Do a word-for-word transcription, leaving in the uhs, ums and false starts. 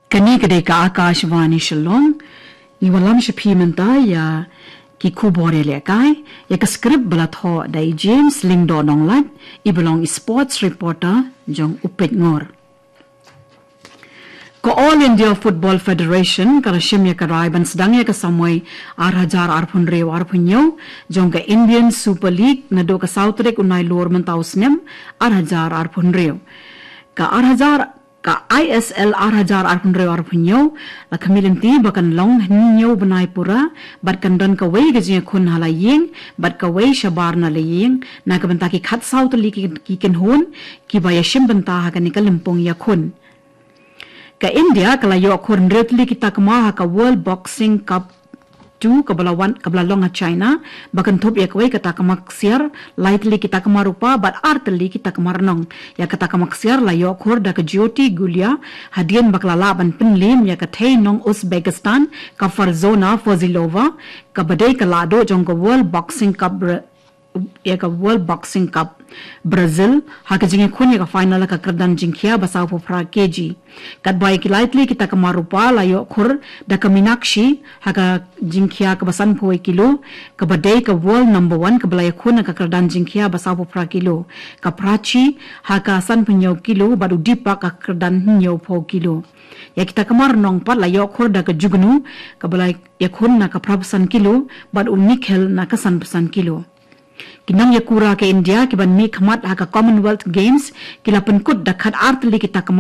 Kane ka dei ka Akashvani Shillong. Ngi wallam sha phi mynta ïa ki khubor ïalehkai, ïa ka script ba la thoh da i James Lyngdoh Nonglait, i ba long i sports reporter jong U Peit Ngor. Ka All India Football Federation ka la shim ïa ka rai ban sdang ïa ka samoi ar hajar arphew hynriew arphew hynñiew jong ka Indian Super League naduh ka saw tarik u Nailur mynta u snem ar hajar arphew hynriew. Ka ar hajar, ka I S L ar hajar arphew hynriew arphew hynñiew la khmih lynti ba kan long hynñiew bnai pura, bad kan don kawei ka jingïakhun ha la ïing bad kawei shabar na la ïing na ka bynta ki khatsaw tylli ki, ki kynhun kiba ïashim bynta ha kane ka lympung ïakhun. Ka India ka la ïoh khur hynriew tylli ki takma ha ka World Boxing Cup two kaba la wan, kaba la long ha China, ba kynthup ïa kawei ka takma ksiar, lai tylli ki takma rupa bad ar tylli ki takma rnong. Ïa ka takma ksiar la ïoh khur da ka Jyoti Gulia, hadien ba ka la lah ban pynliem ïa ka thei nong Uzbekistan, ka Farzona Fozilova, kaba dei ka lahduh jong ka World Boxing Cup Bra-, ïa ka World Boxing Cup Brazil, ha ka jingïakhun ïa ka final ha ka kyrdan jingkhia ba sawphew phra kg. Katba ïa ki lai tylli ki takma rupa la ïoh khur da ka Minakshi ha ka jingkhia kaba sanphew kilo, kaba dei ka world number one kaba la ïakhun ha ka kyrdan jingkhia ba sawphew phra kilo, ka Prachi ha ka sanphew hynñiew kilo bad u Deepak ha ka kyrdan hynñiewphew kilo. Ïa ki takma rnong pat la ïoh khur da ka Jugnu kaba la ïakhun na ka phraphew san kilo bad u Nikhil na ka sanphew san kilo. Ki nongïakura ka India kiban mihkhmat ha ka Commonwealth Games ki la pynkut da khatar tylli ki takma